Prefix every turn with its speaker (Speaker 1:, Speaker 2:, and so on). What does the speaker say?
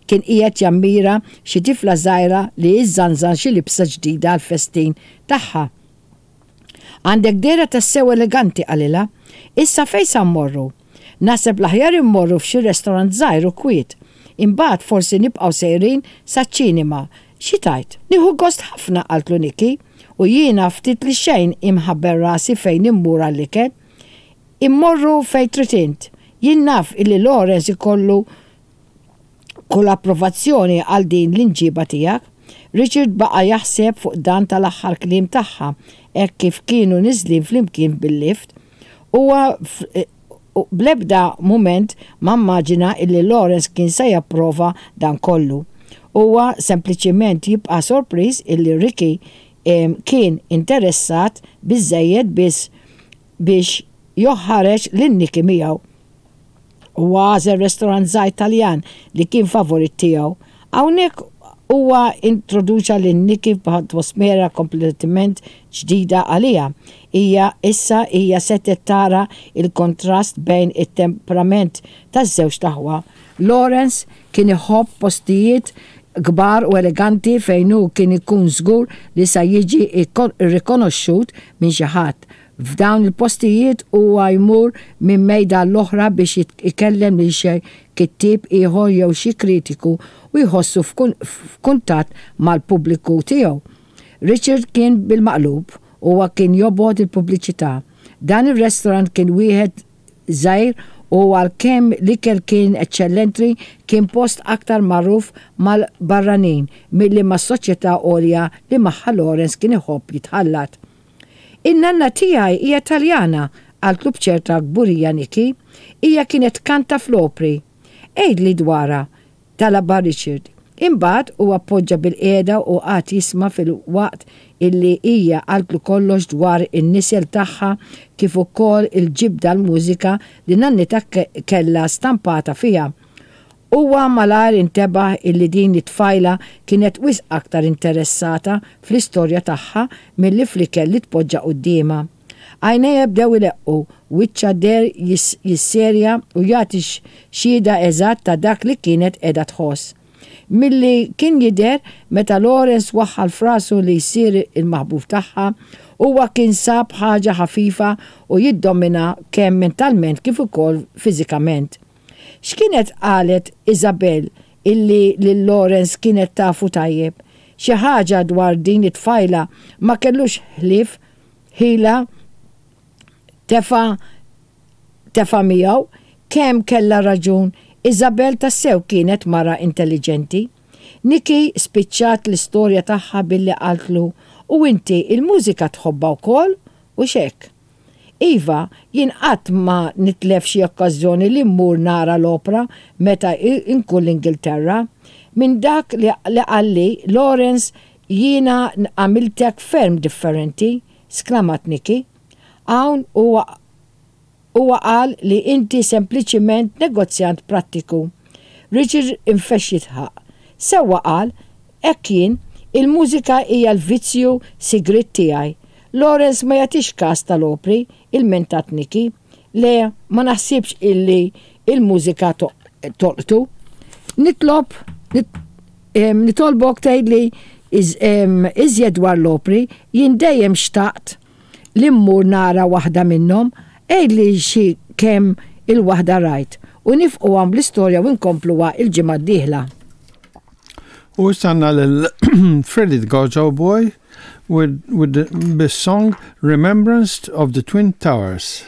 Speaker 1: kien qiegħed jammira xi tifla żgħira li żżanżan xi libsa ġdida għall-festin tagħha. Għandek dehra tassew eleganti, qalilha. Issa fejn sa mmorru? Naħseb l-aħjar immorru f'xi restorant żgħir u kwiet. Imbagħad forsi nibqgħu sejrin saċ-ċinema. Xi tgħid? Nieħu gost ħafna, qaltlu Nikki. U jiena ftit li xejn imħabbel rasi fejn immur għall-ikel. Immorru fejn trid int. Jien naf illi Lawrence ikollu kull approvazzjoni għal din l-imġiba tiegħek. Richard baqa' jaħseb fuq dan tal-aħħar kliem tagħha hekk kif kienu niżlin flimkien bil-lift. Huwa bl-ebda mument ma mmaġina illi Lawrence kien se japprova dan kollu. Huwa sempliċiment jibqa' sorpriż illi Ricky kien interessat biżżejjed biss biex joħħareġ lil Nikki miegħu. Huwa għażel restorant żgħir Taljan li kien favorit tiegħu. Hawnhekk huwa introduċa lil Nikki f'atmosfera kompletament ġdida għaliha. Hija issa hija setgħet tara l-kontrast bejn it-temperament taż-żewġt aħwa. Lawrence kien iħobb postijiet kbar u eleganti fejn hu kien ikun żgur li sa jiġi rrikonoxxut minn xi ħadd. F'dawn il-postijiet huwa jmur minn mejda għall-oħra biex ikellem lil xi kittieb ieħor jew xi kritiku u jħossu f'kuntatt mal-pubbliku tiegħu. Richard kien bil-maqlub, huwa kien jobgħod il-pubbliċità. Dan ir-restorant kien wieħed żgħir u għalkemm l-ikel kien eċċellentri kien post aktar magħruf mal-barranin milli mas-soċjetà għolja li magħha Lawrence kien iħobb jitħallat. In-nanna tiegħi hija Taljana, qaltlu b'ċerta kburija Nikki. Hija kienet tkanta fl-opri. Għidli dwarha, talabha Richard. Imbagħad huwa poġġa bilqiegħda u qagħad jisma' filwaqt illi hija qaltlu kollox dwar in-nisel tagħha kif ukoll il-ġibda għall-mużika li nannitha kellha stampata fiha. Huwa malajr intebaħ illi din it-tfajla kienet wisq aktar interessata fl-istorja tagħha milli fl-ikel li tpoġġa quddiemha. Għajnejha bdew ileqqu, wiċċha deher jisserja u jagħti xhieda eżatt ta' dak li kienet qiegħda tħoss. Milli kien jidher, meta Lawrence waħħal f'rasu li jsir il-maħbub tagħha, huwa kien sab ħaġa ħafifa u jiddomina kemm mentalment kif ukoll fiżikament. X'kienet qalet Isabel illi lil Lawrence kienet tafu tajjeb? Xi ħaġa dwar din it-tfajla ma kellux ħlief ħila tefa' tefa' miegħu. Kemm kellha raġun, Isabel tassew kienet mara intelliġenti. Nikki spiċċat l-istorja tagħha billi qaltlu, U inti il-mużika tħobbha wkoll, hux hekk? Iva, jien qatt ma nitlef xi okkażjoni li mmur nara l-opra meta nkun l-Ingilterra. Minn dak li qalli Lawrence jiena għamiltek ferm differenti, sklamat Nikki. Hawn huwa Huwa qal li inti sempliċiment negozjant prattiku. Richard infexx jidħaq. Sewwa qal, hekk jien, il-mużika hija l-vizzju sigriet tiegħi. Lawrence ma jagħtix kas tal-opri, ilmentat Nikki. Le, ma naħsibx illi l-mużika tolqtu. Nitlob, nitolbok tgħidli iżjed dwar l-opri, jien dejjem xtaqt li mmur nara waħda minnhom, għidli xi kemm il-waħda rajt, u nifqu hawn bl-istorja u nkompluha l-ġimgħa d-dieħla.
Speaker 2: U issa għandna lil Freddie the Gojo Boy with, with the, bis-song Remembrance of the Twin Towers.